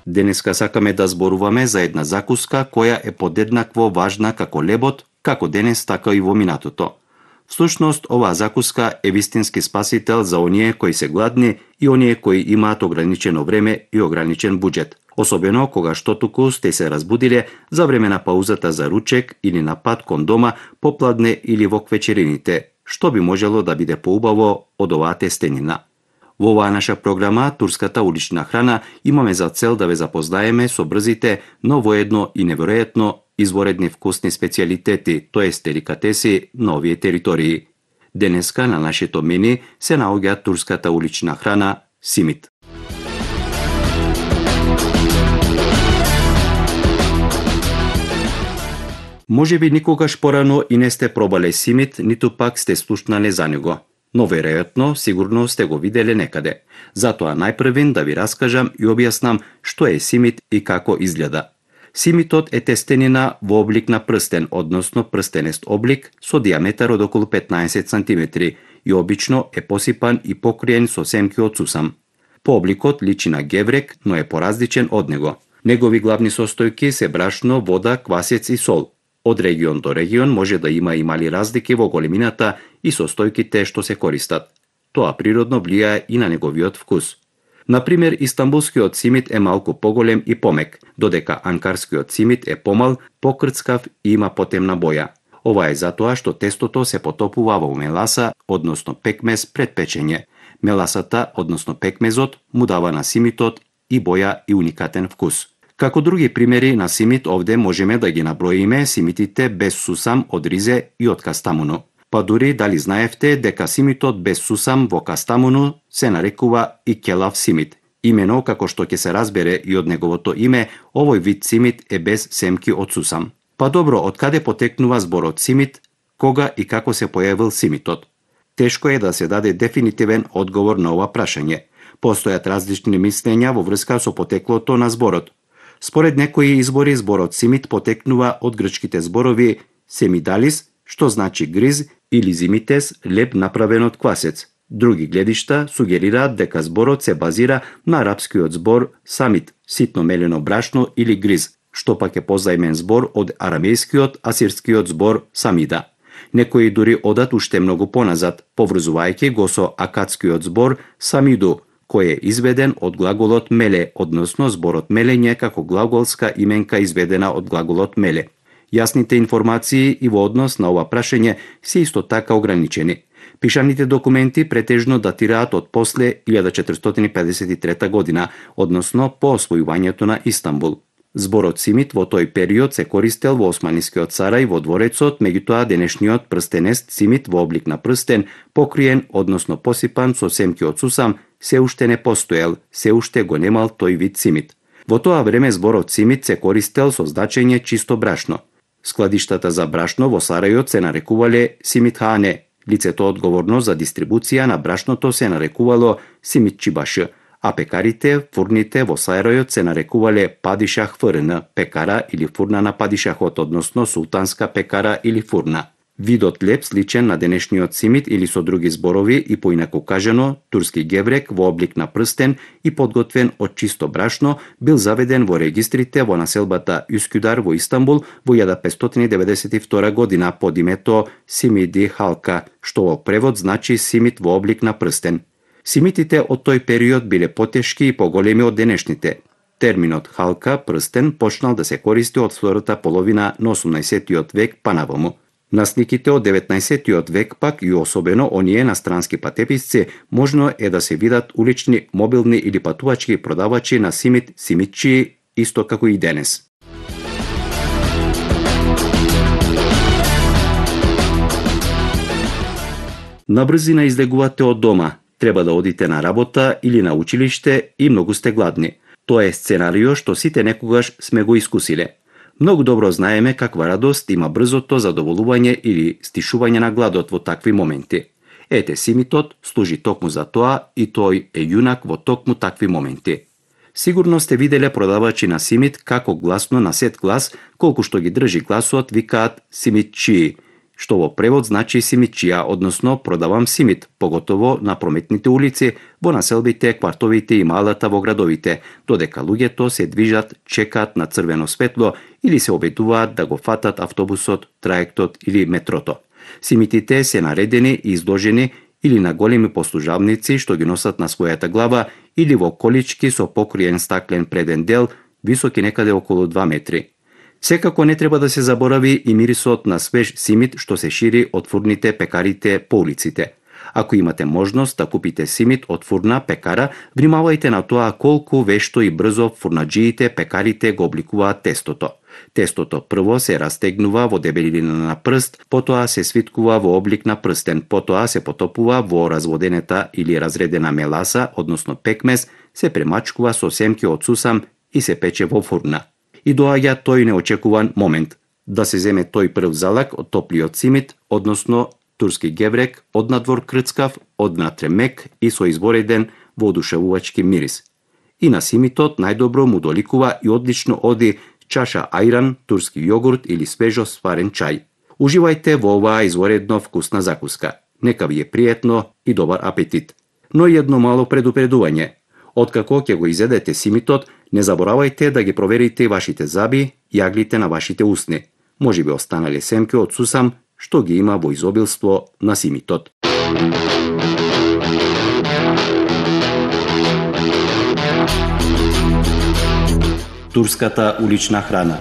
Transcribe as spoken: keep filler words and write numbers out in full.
Денеска сакаме да зборуваме за една закуска која е подеднакво важна како лебот, како денес така и во минатото. Всушност, оваа закуска е вистински спасител за оние кои се гладни и оние кои имаат ограничено време и ограничен буџет. Особено кога што туку сте се разбудиле за време на паузата за ручек или на пат кон дома, попладне или во квечерините, што би можело да биде поубаво од оваа тестенина. Во оваа наша програма Турската улична храна имаме за цел да ве запознаеме со брзите, но воедно и неверојатно изворедни вкусни специјалитети, тоест деликатеси на овие територии. Денеска на нашето мени се наоѓа турската улична храна симит. Може би никогаш порано и не сте пробале симит, ниту пак сте слушнале за него. Но веројатно, сигурно сте го виделе некаде. Затоа најпрвен да ви раскажам и објаснам што е симит и како изгледа. Симитот е тестенина во облик на прстен, односно прстенест облик со диаметар од околу петнаесет сантиметри и обично е посипан и покриен со семки од сусам. По обликот личи на геврек, но е поразличен од него. Негови главни состојки се брашно, вода, квасец и сол. Од регион до регион може да има и мали разлики во големината и состојките што се користат. Тоа природно влијае и на неговиот вкус. Например, истанбулскиот симит е малку поголем и помек, додека анкарскиот симит е помал, покрцкав и има потемна боја. Ова е затоа што тестото се потопува во меласа, односно пекмез пред печење. Меласата, односно пекмезот, му дава на симитот и боја и уникатен вкус. Како други примери на симит овде можеме да ги наброиме симитите без сусам од ризе и од кастамуну. Па дури дали знаевте дека симитот без сусам во кастамуну се нарекува и келав симит. Имено како што ќе се разбере и од неговото име, овој вид симит е без семки од сусам. Па добро, од каде потекнува зборот симит, кога и како се појавил симитот? Тешко е да се даде дефинитивен одговор на ова прашање. Постојат различни мислења во врска со потеклото на зборот. Според некои избори зборот симит потекнува од грчките зборови семидалис, што значи гриз, или зимитес, леп направен од квасец. Други гледишта сугерираат дека зборот се базира на арапскиот збор самит, ситно мелено брашно или гриз, што пак е позаимен збор од арамејскиот асирскиот збор самида. Некои дури одат уште многу поназад, поврзувајќи го со акадскиот збор самиду, кој е изведен од глаголот меле, односно зборот мелење како глаголска именка изведена од глаголот меле. Јасните информации и во однос на ова прашање се исто така ограничени. Пишаните документи претежно датираат од после илјада четиристотини педесет и трета година, односно по освојувањето на Истанбул. Зборот симит во тој период се користел во Османискиот царај во дворецот, меѓутоа денешниот прстенест симит во облик на прстен, покриен, односно посипан со семки од сусам, се уште не постоел, се уште го немал тој вид симит. Во тоа време зборот симит се користел со значење чисто брашно. Складиштата за брашно во Сарајот се нарекувале симитхане. Лицето одговорно за дистрибуција на брашното се нарекувало симитчибаш, а пекарите, фурните во Сарајот се нарекувале падишах фрн, пекара или фурна на падишахот, односно султанска пекара или фурна. Видот леп сличен на денешниот симит или со други зборови и поинаку кажано, турски геврек во облик на прстен и подготвен од чисто брашно бил заведен во регистрите во населбата Üsküdar во Истанбул во илјада петстотини деветдесет и втора година под името Simidi Halka, што во превод значи симит во облик на прстен. Симитите од тој период биле потешки и поголеми од денешните. Терминот халка, прстен, почнал да се користи од втората половина на осумнаесеттиот век па наваму. На сниките од деветнаесеттиот век пак и особено оние на странски патеписци можно е да се видат улични, мобилни или патувачки продавачи на симит, симитчи, исто како и денес. Набрзина излегувате од дома, треба да одите на работа или на училиште и многу сте гладни. Тоа е сценарио што сите некогаш сме го искусиле. Многу добро знаеме каква радост има брзото задоволување или стишување на гладот во такви моменти. Ете, симитот служи токму за тоа и тој е јунак во токму такви моменти. Сигурно сте виделе продавачи на симит како гласно на сет глас, колку што ги држи гласот, викаат симитчи. што во превод значи симитчија, односно продавам симит, поготово на прометните улици, во населбите, квартовите и малата во градовите, додека луѓето се движат, чекаат на црвено светло или се обидуваат да го фатат автобусот, траектот или метрото. Симитите се наредени и изложени или на големи послужавници што ги носат на својата глава или во колички со покриен стаклен преден дел, високи некаде околу два метри. Секако не треба да се заборави и мирисот на свеж симит што се шири од фурните, пекарите по улиците. Ако имате можност да купите симит од фурна, пекара, внимавајте на тоа колку вешто и брзо фурнаџиите, пекарите го обликуваат тестото. Тестото прво се растегнува во дебелина на прст, потоа се свиткува во облик на прстен, потоа се потопува во разводенета или разредена меласа, односно пекмез, се премачкува со семки од сусам и се пече во фурна. И доаѓа тој неочекуван момент, да се земе тој прв залак од топлиот симит, односно турски геврек, однадвор крцкав, однатре мек и со извореден воодушевувачки мирис. И на симитот најдобро му доликува и одлично оди чаша ајран, турски јогурт или свежо сварен чај. Уживајте во оваа изворедно вкусна закуска. Нека ви е пријатно и добар апетит. Но и едно мало предупредување. Откако ќе го изедете симитот, не заборавајте да ги проверите вашите заби и јаглите на вашите усни. Може би останале семки од сусам, што ги има во изобилство на симитот. Турската улична храна.